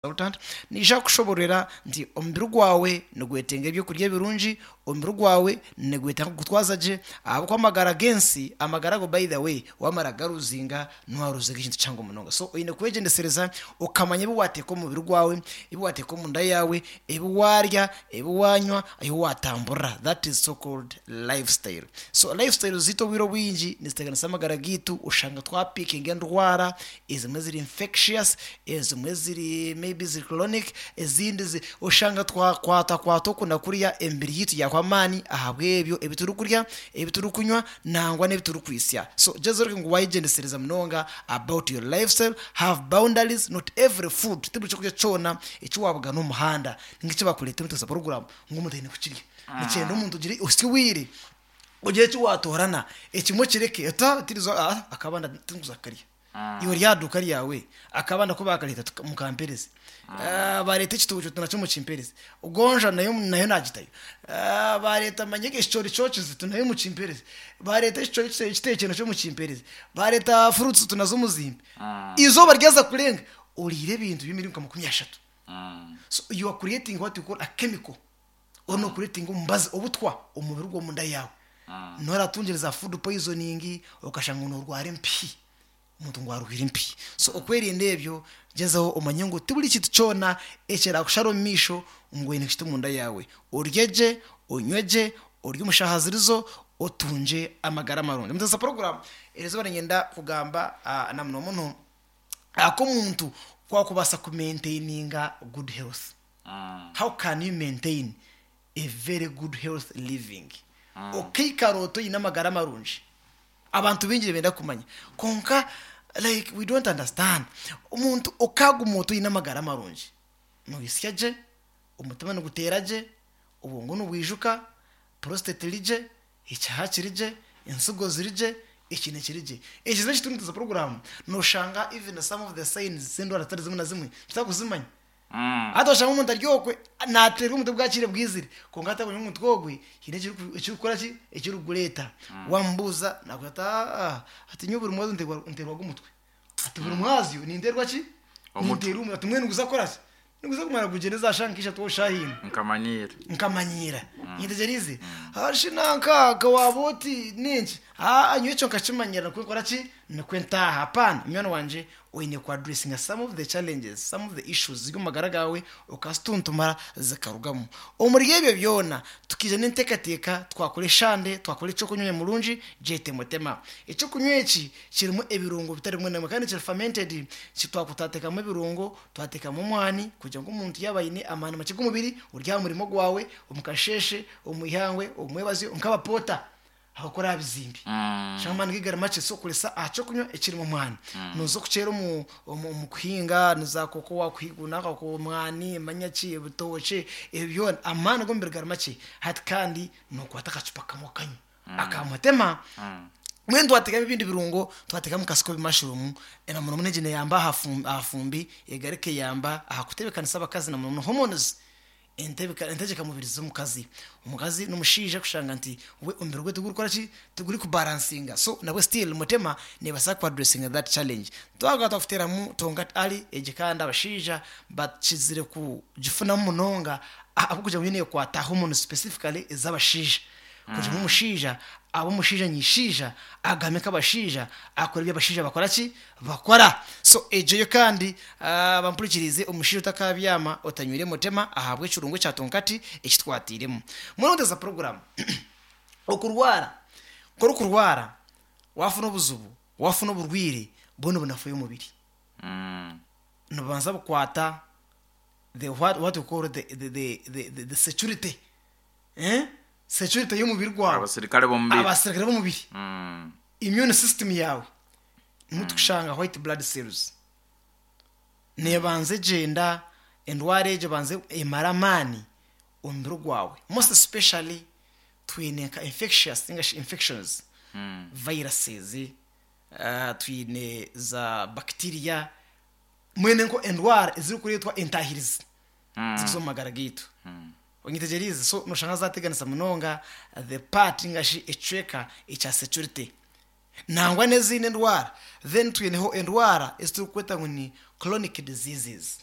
Consultant, Naija kukushobororera nti omubiri gwawe nigwetenga ebyokurya ebirungi, omubiri gwawe nigwetenga kugutwaza gye ahabw'okuba amagara g'ensi, amagara ago by the way wamara kugaruzinga niwaruzinga ekintu kihango munonga. So oine kwegyendesereza okamanya ebi wateeka omu mubiri gwawe, ebi wateeka omunda yaawe, ebi waarya, ebi waanywa, ahi waatamburira that is so called lifestyle. So lifestyle zaitu obwire obwingi niziteganisa amagara gaitu oshanga twapikinga endwara ezimwe ziri infectious, ezimwe ziri maybe ziri chronic, ezindi zi oshanga twakwatakwata oku na kuriya emibiri yaitu yahwa amaani ahabw'ebyo ebi turikurya, ebi turikunywa nangwa n'ebi turikwitsya. So gyezaho orebe ngu wayegyendesereza munonga about your lifestyle, have boundaries, not every food, ti buri kyokurya kyona eki wabugana omu muhanda ninga eki bakureetera omu program ngu omuntu aine kukirya. Nikyenda omuntu ogire osye obwire ogire eki watoorana ekimwe okireke ota tirizo akabanda tindikuza kukarya. Iwe ori aha duuka ryawe akabanda ku baakareeta mukampereze. Baareeta ekitookye oti nakyo mukimpereze. Gonja nayo nayo naagitayo. Baareeta manya ekicoori kyokize oti nayo mukimpereze. Baareeta ekicoori ekiteekire nakyo mukimpereze. Baareeta fruits oti nazo muzimpe. Eizooba ryaza kurenga oriire ebintu by'emiringo nka 30. So you are creating what you call a chemical. Oriyo nookureetinga omubazi, obutwa omu mubiri gw'omunda yaawe. Niho oratungire za food poisoning, okashanga ngu noorwara empihi, omuntu ngu arwaire empihi. So okwerinda ebyo, gyezaho omanye ngu tiburi kintu kyona ekiraakushara omu maisho ngu oine kukita omunda yaawe. Orye gye, onywe gye, orye omu shaaha zirizo, otungye amagara marungi. Muteesa puroguraamu, erizooba niinyenda kugamba na muno muno aha ku omuntu ku arikubaasa kumaintaininga good health. How can you maintain a very good health living? Okaikara ota oine amagara marungi? Abantu baingi nibenda kumanya kwonka like we don't understand. Omuntu okaguma ota oine amagara marungi? Noyisya gye, omutima niguteera gye, obwongo nibwijuka, prostate eri gye, ekihaha kiri gye, ensigo ziri gye, ekiine kiri gye. Ekizibu eki turimu puroguraamu noshanga even some of the signs z'endwara zitari zimwe na zimwe tutarikuzimanya. Hati oshanga omuntu ari okwe nateerwa omutwe bwakiire bwizire kwonka atakumanya ngu omutwe ogwe haine ekirikukora ki ekirikugureeta. Wamubuuza nakugira ati aah ati nyowe buri mwazyo nteerwaga omutwe, ati buri mwazyo ninteerwa ki? Ninteerwa omutwe ati mbwenu niguza kukora ki? Niguza kumara gugyende za shaaha nka ishatu shaaha ina. Nkamanyiira. Nkamanyiira. Nyetegyereize? Hashi nanka ka waaba oti nenki? Haa nyowe ekyo nkakimanyira nikwo nkora ki? Nikwo ntaaha. Hapaana munywani wangye Oine ku addressinga some of the challenges, some of the issues ziri omu magara gaawe okazituntumara zikarugamu. Omuri ebyo byona, tukaija n'enteekateeka twakora eshande, twakora eky'okunywa nyamurungi, gyete mutema. Eky'okunywa eki kirimu ebirungo bitari bimwe na bimwe kandi kiri fermented, twateekamu ebirungo, twateekamu omwani kugira ngu omuntu yaaba aine amaani makye g'omubiri, ori aha murimo gwawe, omu kasheeshe, omu ihangwe, omu mwebazyo, nk'abapoota. Ahabw'okuba orabizimbi shanga amaani ge gari makye so koresa aha ky'okunywa ekirimu omwani. Nooza okukyera omu omu omu kuhinga niza koko wakuhiguna omwani manya ki ebitookye ebyo byona amaani g'omubiri gari makye hati kandi nookwata akacupa kamwe okanywa aka mutema. Mbwenu twateekamu ebindi birungo twateekamu nka sikobi mushroom na muno muno egi neeyamba aha aha fumbi egaruka eyamba aha kutebeekanisa abakazi na muno muno hormones. Entegyeka mubiri z'omukazi. Omukazi n'omushaija kushanga nti we omubiri gwe tigurikukora ki? Tiguri kubaransinga so nabwe still mutema nebaasa ku addressinga that challenge. Twagaruka twakuteramu Tongat Ali egi kandi abashaija bakizire kugifunamu munonga ahabw'okugira ngu yo nekwata hormones specifically ez'abashaija. Kugira ngu omushaija abe omushaija nyishaija, agame nk'abashaija, akore ebi abashaija bakora ki? Bakora. So egyo yo kandi bampurikiriize omushaija otakabyama otanywire mutema ahabw'ekirungo ekya tonkati eki twatairemu. Mbwenu nteeza puroguraamu. Okurwara, ku orikurwara waafuna obuzibu, waafuna oburwaire, bwona obunafu omubiri. Nibubanza bukwata the what what we call the the the the the security. Security y'omubiri gwawe. Abasirikare b'omubiri. Abasirikare b'omubiri. Immune system yaawe nimwo turikushanga white blood cells. Neebanza egyenda endwara egyo ebanze emare amaani omubiri gwawe. Most especially twine nka infectious ninga shi infections, viruses, twine za bacteria, mbwenu nko endwara ezirikureetwa entaahirizi zikuza omu magara gaitu. Onyetegyereize? So noshanga zateganisa munonga the part ninga shi ekicweka ekya security. Nangwa n'ezindi endwara. Then twineho endwara ezi turikweta ngu ni chronic diseases.